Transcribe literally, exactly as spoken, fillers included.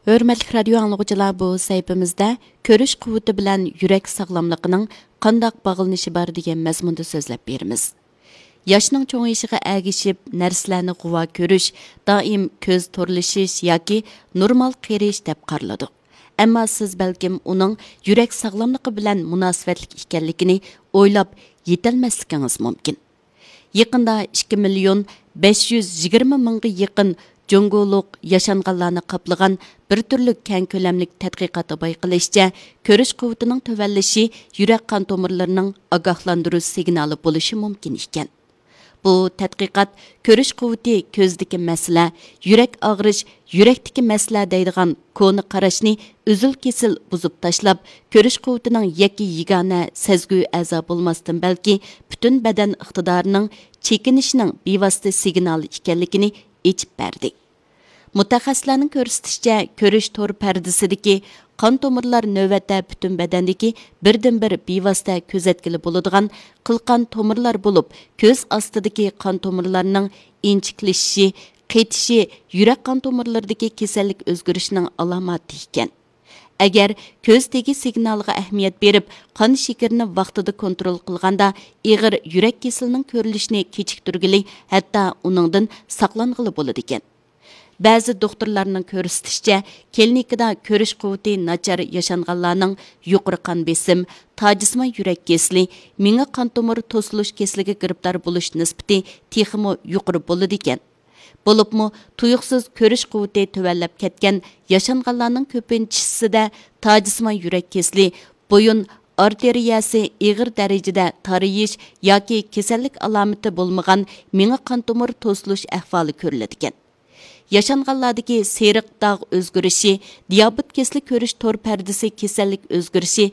ھۆرمەتلىك رادىيو ئاڭلىغۇچىلار، بۇ سەھىپىمىزدە كۆرۈش قۇۋۋىتى بىلەن يۈرەك ساغلاملىقىنىڭ قانداق باغلىنىشى بار دېگەن مەزمۇندا سۆزلەپ بېرىمىز. ياشنىڭ چوڭىيىشىغا ئەگىشىپ نەرسىلەرنى غۇۋا كۆرۈش دائىم كۆز تورلىشىش ياكى نورمال قېرىيىش دەپ قارىلىدۇ. ئەمما سىز بەلكىم ئۇنىڭ يۈرەك ساغلاملىقى بىلەن مۇناسىۋەتلىك ئىكەنلىكىنى ئويلاپ يېتەلمەسلىكىڭىز مۇمكىن. يېقىندا ئىككى مىليون بەش يۈز يىگىرمە مىڭغا يېقىن جۇڭگولۇق ياشانغانلارنى قاپلىغان بىر تۈرلۈك كەڭ كۆلەملىك تەتقىقاتتا بايقىلىشىچە، كۆرۈش قۇۋۋىتىنىڭ تۆۋەنلىشى يۈرەك قان تومۇرلىرىنىڭ ئاگاھلاندۇرۇش سىگنالى بولۇشى مۇمكىن ئىكەن. بۇ تەتقىقات كۆرۈش قۇۋۋىتى كۆزدىكى مەسىلە، يۈرەك ئاغرىش يۈرەكتىكى مەسىلە دەيدىغان كونا قاراشنى ئۈزۈل-كېسىل بۇزۇپ تاشلاپ، كۆرۈش قۇۋۋىتىنىڭ يەككە يېگانە سەزگۈ ئەزا بولماستىن، بەلكى پۈتۈن بەدەن ئىقتىدارىنىڭ چېكىنىشنىڭ بىۋاسىتە سىگنالى ئىكەنلىكىنى ئېچىپ بەردى. مۇتەخەسسىسلەرنىڭ كۆرسىتىشىچە، كۆرۈش تور پەردىسىدىكى قان تومۇرلار نۆۋەتتە پۈتۈن بەدەندىكى بىردىنبىر بىۋاسىتە كۆزەتكىلى بولىدىغان قىلقان تومۇرلار بولۇپ، كۆز ئاستىدىكى قان تومۇرلارنىڭ ئىنچىكىلىشىشى، قېتىشى يۈرەك قان تومۇرلىرىدىكى كېسەللىك ئۆزگىرىشىنىڭ ئالاماتى ئىكەن. ئەگەر كۆز تېگى سىگنالىغا ئەھمىيەت بېرىپ، قان شېكىرىنى ۋاقتىدا كونترول قىلغاندا، ئېغىر يۈرەك كېسىلىنىڭ كۆرۈلۈشىنى كېچىكتۈرگىلى، ھەتتا ئۇنىڭدىن ساقلانغىلى بولىدىكەن. بەزى دوختۇرلارنىڭ كۆرسىتىشىچە، كلىنىكىدا كۆرۈش قۇۋۋىتى ناچار ياشانغانلارنىڭ يۇقىرى قان بېسىم، تاجسىمان يۈرەك كېسىلى، مېڭە قان تومۇر توسۇلۇش كېسىلىگە گىرىپتار بولۇش نىسبىتى تېخىمۇ يۇقىرى بولىدىكەن. بولۇپمۇ تۇيۇقسىز كۆرۈش قۇۋۋىتى تۆۋەنلەپ كەتكەن ياشانغانلارنىڭ كۆپىنچىسىدە تاجسىمان يۈرەك كېسىلى، بويۇن ئارتېرىيەسى ئېغىر دەرىجىدە تارىيىش ياكى كېسەللىك ئالامىتى بولمىغان مېڭە قان تومۇر توسۇلۇش ئەھۋالى كۆرۈلىدىكەن. ياشانغانلاردىكى سېرىق داغ ئۆزگىرىشى، دىيابېت كېسىلى كۆرۈش تور پەردىسى كېسەللىك ئۆزگىرىشى